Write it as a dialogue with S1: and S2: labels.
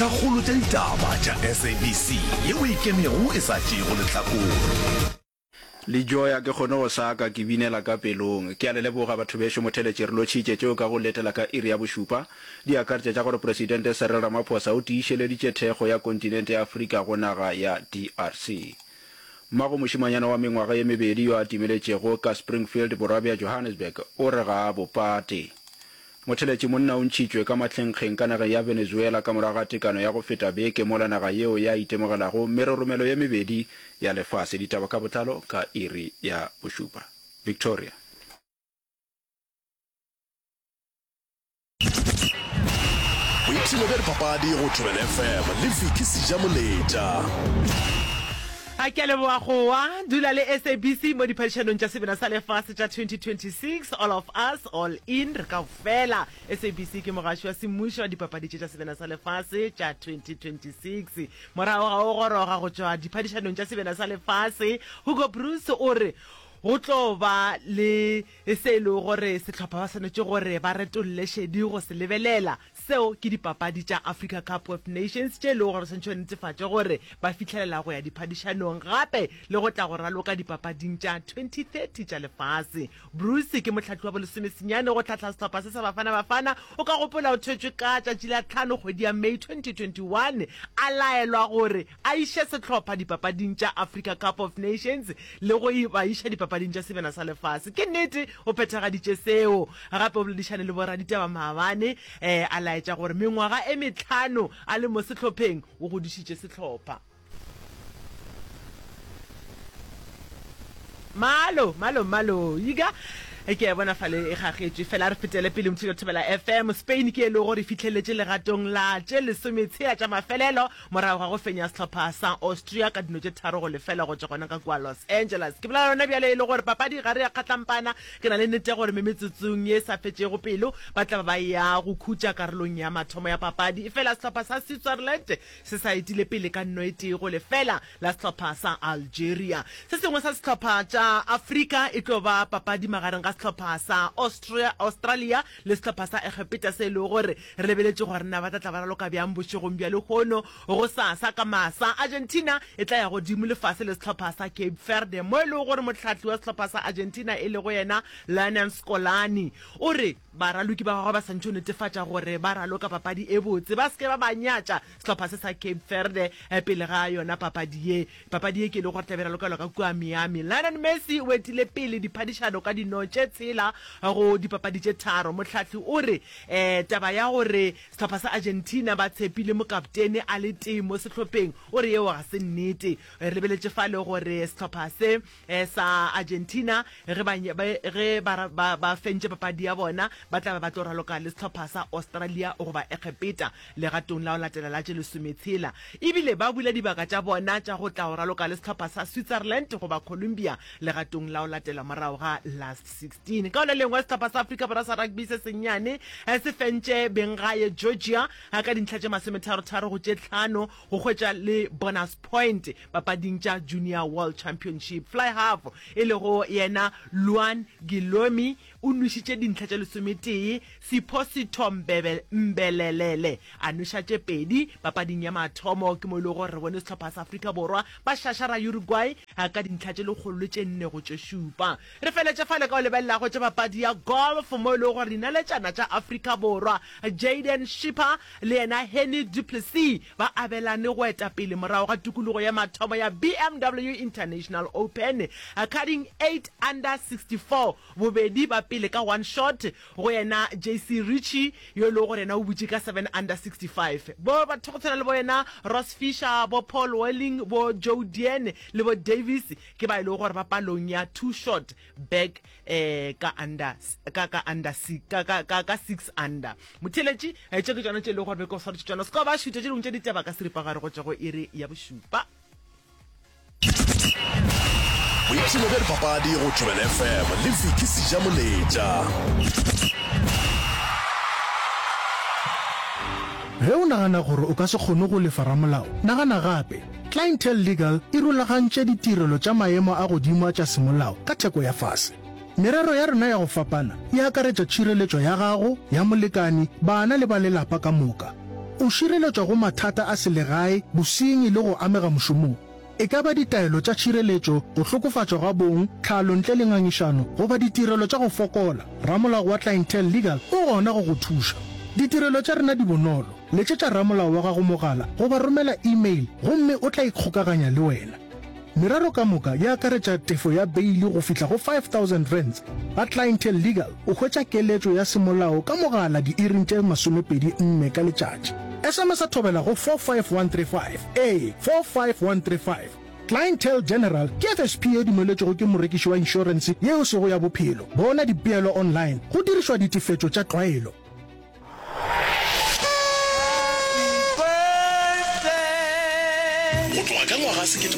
S1: Kgolo tša ditaba tša SABC yeo e ikemego e sa tšeego lehlakore.
S2: Le joya ke kgone go saka ke binela ka pelong. Ke a le leboga batho bešo motheletši re lotšhitše tšeo ka go letela ka iri ya bošupa. Di akaretša tša gore Presidente Cyril Ramaphosa o tiišeleditše thekgo ya kontinente ya Afrika go naga ya DRC. Mmago mošemanyana wa mengwaga ye mebedi yo a timeletšego ka Springfield borwa bja Johannesburg o re ga a bo pate. Motheletši monna o ntšhitšwe ka mahlenkgeng ka nageng ya Venezuela ka morago ga tekano ya go feta beke mola naga yeo ya itemogelago meroromelo ye mebedi ya lefase. Ditaba ka botlalo ka iri ya bošupa. Victoria.
S1: Boipshino bja dipapadi go Thobela FM le Vicky Sejamoletša.
S3: A ke a leboga gowa dula le SABC mo diphadišanong tša Sebena sa Lefase tša 2026, All of Us, All In, re kaofela. SABC ke mogaši wa semmušo wa dipapadi tše tša Sebena sa Lefase tša 2026. Morago ga go goroga go tšwa diphadišanong tša Sebena sa Lefase, Hugo Broos o re go tlo ba le se e lego gore sehlopha ba swanetše gore ba retolle šedi go se lebelela. Seo ke dipapadi tša Africa Cup of Nations tše e lego gore swanetše ba netefatše gore ba fihlelela go ya diphadišanong gape le go tla go raloka dipapading tša 2030 tša lefase. Broos ke mohlahli wa bolesomesenyane go hlahla sehlopha se sa Bafana Bafana. O ka gopola o thwetšwe ka tšatši la tlhano kgwedi ya May 2021 a laelwa gore a iše sehlopha dipapading tša Africa Cup of Nations le go ba iša dipapading tša Sebjana sa Lefase. Ke nnete o phethagaditše seo. Gape o boledišane le boraditaba maabane a laetša gore mengwaga e mehlano a le mo sehlopheng o godišitše sehlopha. Malo, malo, malo. Iga, ke a e bona fale e gagetšwe. Fela a re fetele pele Motšhelo Thobela FM. Spain ke e lego gore e fihleletše legatong la tše lesometshela tša mafelelo morago ga go fenya sehlopha sa Austria ka dino tše 3-0 go tšwa gona ka kua Los Angeles. Ke bolela yona bjale e le gore papadi ga re ya kgatlampana. Ke na le nnete ya gore me metsotsong ye e sa fetšego pelo ba tla ba ba ya go khutša karolong ya mathomo ya papadi. Efela sehlopha sa Switzerland se sa etile pele ka nno e tee go lefela la sehlopha sa Algeria. Se sengwe sa sehlopha tša Afrika e tlo ba papadi magareng ga sehlopha sa Austria, Australia le sehlopha sa Egepeta se e lego gore re lebeletše gore na ba tla tla ba raloka bjang bošegong bja lehono. Gosasa ka masa, Argentina e tla ya godimo le fase le sehlopha sa Cape Verde mo e lego gore mohlahli wa sehlopha sa Argentina e lego yena Lionel Scolani o re baraloki ba gagwe ba santše go netefatša gore ba raloka papadi e botse, ba se ke ba ba nyatša sehlopha se sa Cape Verde pele ga yona papadi ye. Papadi ye ke e lego gore tla be e ralokelwa ka kua Miami. Lionel Messi o etile pele diphadišano ka dino tše tshela go dipapadi tše tharo. Mohlahli o re taba ya gore sehlopha sa Argentina ba tshepile mokaptene a le tee mo sehlopheng, o re yeo ga se nnete. Re lebeletše fale gore sehlopha se sa Argentina ge ba, ge ba, ba, ba fentše papadi ya bona, ba tla ba ba tlo raloka le sehlopha sa Australia goba Egepeta legatong la go latela la tše lesometshela. Ebile ba bula dibaka tša bona tša go tla go raloka le sehlopha sa Switzerland goba Colombia legatong la go latela morago ga last 16. Ka go le lengwe, sehlopha sa Afrika Borwa sa rugby se sennyane se fentše benggae Georgia ka dintlha tše masometharotharo go tše tlhano go hwetša le bonus point papading tša Junior World Championship. Fly half e lego yena Luan Guilherme o nwešitše dintlha tše lesometee, Sipho Sitho Mbelelele a nweša tše pedi papading ya mathomo. Ke mo e lego gore re bone sehlopha sa Afrika Borwa ba šašara Uruguay ka dintlha tše lekgolo le tše nne go tše šupa. Re feletše fale ka go lebelela go tša papadi ya golf mo e lego gore dinaletšana tša Afrika Borwa Jayden Schipper le yena Hennie du Plessis ba abelane go eta pele morago ga tokologo ya mathomo ya BMW International Open carding 8 under 64 bobedi ba pele ka one shot go yena JC Ritchie yo e lego gore yena o butše ka 7 under 65. Bo batho go tshwana le bo yena Ross Fisher, bo Paul Welling, bo Joe Dean le bo Davis ke ba e lego gore ba palong ya two shot back eh ka under ka ka under ka ka ka ka 6 under. Motheeletši, eh, tše ke tšona tše e lego gore be ke go swaretše tšona. Se ka ba šutha tše dingwe tša ditaba ka seripagare go tšwa go iri ya bošupa.
S1: Boipshino bja dipapadi go Thobela FM le Vicky Sejamoletša.
S4: Ge o nagana gore o ka se kgone go lefa ramolao, nagana gape. Clientele Legal e rulagantše ditirelo tša maemo a godimo a tša semolao ka theko ya fase. Merero ya rena ya go fapana e akaretša tšhireletšo ya gago, ya molekani, bana le ba lelapa ka moka. O šireletšwa go mathata a selegae, bosenyi le go amega mošomong. E ka ba ditaelo tša tšhireletšo, go hlokofatšwa ga bong, tlhalo ntle le ngangišano, goba ditirelo tša go fokola, ramolao wa Clientele Legal o gona go go thuša. Ditirelo tša rena di bonolo, letšetša ramolao wa gago mogala goba romela email gomme o tla ikgokaganya le wena. Merero ka moka e akaretša tefo ya beili go fihla go R5000. Ga Clientele Legal o hwetša keletšo ya semolao ka mogala diiring tše 24 ka letšatši. SMS-a thobela go 45135. Ee, 45135. Clientele General ke FSP ye dumeletšwego ke morekiši wa inšorense ye e sego ya bophelo. Bona dipeelo online go dirišwa ditefetšo tša tlwaelo.
S1: Go tloga ka ngwaga.